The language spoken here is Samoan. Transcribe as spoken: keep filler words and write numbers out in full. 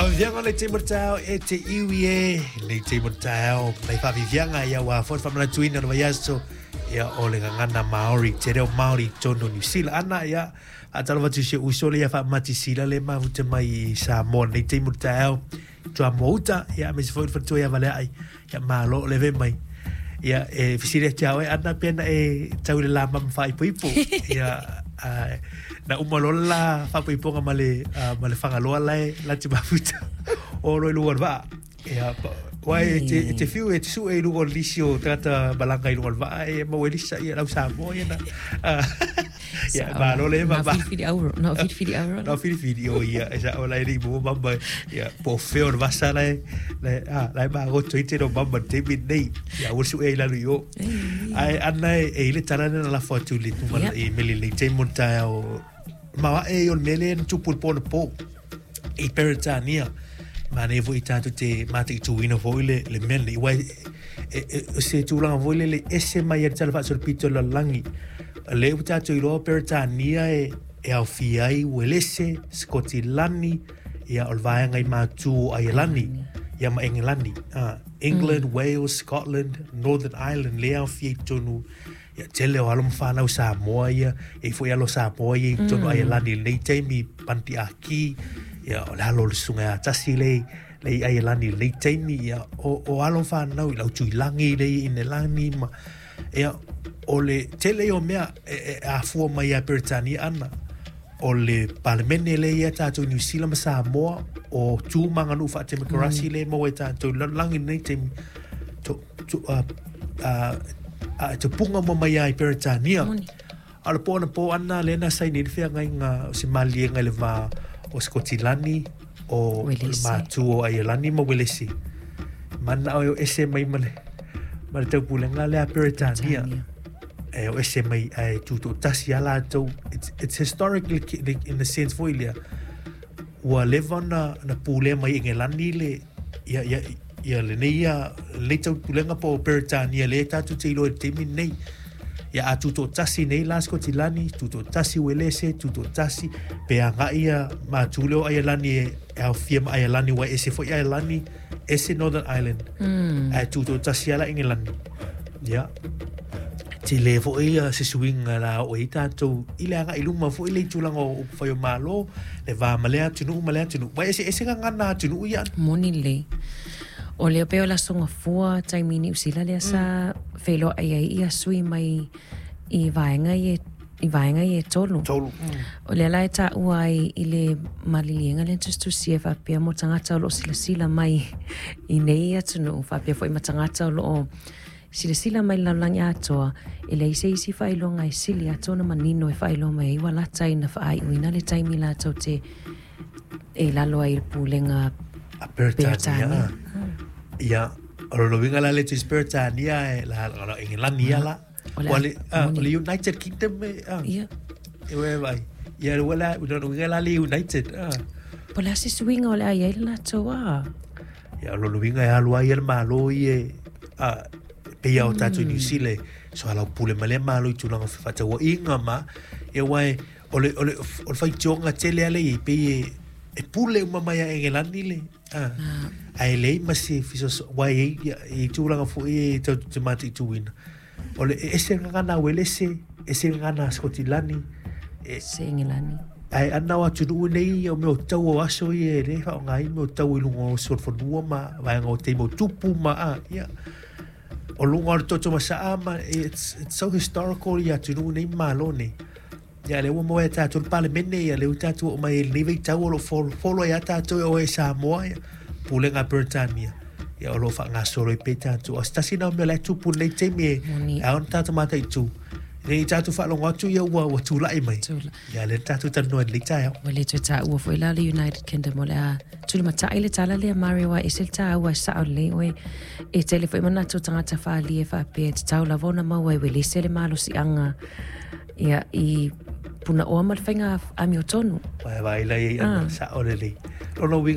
Faaviviaga o le taimi o le taeao e te iwi e le taimi o le taeao nai faaviviaga ia ua foi le faamanatuina o le vaiaso ia o le gagana Maori te reo Maori i totonu o Niu Sila ana ia faatalofa atu i si ou uso lea faamati sila le mafuta mai i Samoa nei taimi o le taeao Tuamoa uta ia aemaise foi le faletua ia Valeai ia malo o le ve mai ia e fesili atu ia oe ana pe na e tau i le la mama faaipoipo ia uh, na uma loa le la faapoipoga ma le uh, ma le Fagaloa lae la te mafuta o lo i luga o le vaa ia pa- Uae e te, e te fiu e te sue i luga o le lisi o tagata malaga i luga o le vaa e maua e lisa ia lau Samoa ia na uh, ia malo le Na ma filifili auro, na filifili auro. Na filifili o ia e sa o lai ni mo mama ia po feo le vasa lai lai ah lai magoto i te no mama te mi nei ia ua sue i lalo i o ai ana e e i le tala na lafo atu i le tuma Yep. i meli le te mo taeao maoae o le mea lea na tupu i le po na po i Peretania manaia foi tatou te mataituina foi le le mea lenei uae e, e, e, se tulaga foi lele ese mai ai le tala faasolopito o le lalolagi lea ua tatou iloa o Peretania e e aofia ai Uelese, Sikotilani, ia o le vaega i matu o Aielani, ia ma Engelani. Ah, England, mm. Wales, Scotland, Northern Ireland, lea aofia i totonu ia tele o alo ma fanau Samoa ia, e foi alo Samoa ia i totonu mm. Aielani i lenei taimi Panti Aki, ia o le alo o le susuga ia Tasi le le i Aielani i lenei taimi ia o, o alo ma fanau i lau Tuilagi le i Inelani ma ia o le tele ia o mea e, e afua mai ia Peretania ana o le palemene lea ia tatou i Niu Sila ma Samoa o tu ma aganuu faatemokarasi mm. le maua e tatou i le lalolagi i lenei taimi to, to, uh, uh, uh, tupuga uma mai ia i Peretania Moni. a o le po anapo ana lea na saini ai le feagaiga o se maliega i le va o Sikotilani o, o le Uelese. matu o Aielani ma Uelese manao e o ese mai ma le ma le taupulega lea a Peretania Peretania. e o ese mai ae tutoatasi a latou it's, it's historic like, in the sense foi lea ua leva ona na pulea mai e Engelani le ia ia ia lenei ia lenei taupulega po o Peretania lea tatou te iloa i le taimi lenei ia a tutoatasi nei la Sikotilani tutoatasi Uelese tutoatasi pe agai ia matu lea o Aielani e e aofia ma Aielani ua ese foi Aielani ese Northern Ireland Mm. ae tutoatasi ala Engelani ia tele foi ia se suiga la oo ai tatou i le agai i luma foi le i tulaga o upufai o malo le va ma lea atunuu ma lea atunuu ua eseese gagana atunuu ia Moni lelei. O lea pei o le aso gafua taimi i Niu Sila lea sa feiloai ai ia sui mai i vaega ia i vaega ia e tolu. Tolu. O lea la e taua ai i le maliliega lea na tusitusia faapea mo tagata o loo silasila mai i nei atunuu faapea foi ma tagata o loo silasila mai i le lalolagi atoa e leai se isi faailoga e sili atu ona manino e faailoa mai ai ua lata ina faaaiuina le taimi latou te e i lalo ai i le pulega A Peretania. Peretania. Ia, o lona uiga la le tusi Peretania e la la Engelani ia la. O le Ua le ah, o moni. le United Kingdom e ah. Ia. E ue vai. Ia ua la o lona uiga la le United. Ah. Po o le a se suiga o le a i ai le latou a. Ia o lona uiga e alu ai ia le Malo i e ah, pei a o tatou i Niu Sila e soalaupule ma lea Malo i tulaga o fefaatauaiga ma ia aua e o le o le o le faitioga tele ale i pei e e pule uma mai a Engelani le ah. Ae leai ma se fesoaso aua e i ai i tulaga foi e tatou te mataituina o le e ese le gagana a Uelese ese le gagana a Sikotilani e Se Engelani. Ae ana o atunuu nei o mea o tau o aso ia e lē faaaogaina mea o tau i luga o solofanua ma vaega o taimi o tupu ma a ia o luga o le toto masaa ma it's, it's so historical ia atunuu nei ma malo nei ia lea ua maua ia tatou le palemene ia lea ua tatou oo mai i lenei vaitau o loo folofolo ai a tatou e oe i Samoa ia pulega a Peretania ia o loo faagasolo ai pea tatou o se tasi na o mea la e tupu i lenei taimi e Moni. e ao ona tatou mataitu nei tatou faalogo atu ia ua ua tulai mai Tula. ia lea na tatou talanoa i lenei taeao Ua le toe taua foi la le United Kingdom o le a tulimatai le tala lea Mario aua e ese le taua e sao lelei oe e tele foi manatu o tagata faaalia e faapea e tatau lava ona maua e uelese le malosiaga ia i punaoa ma le faiga amiotonu. Vae vai lai ai ana Ah. sao lelei lona uiga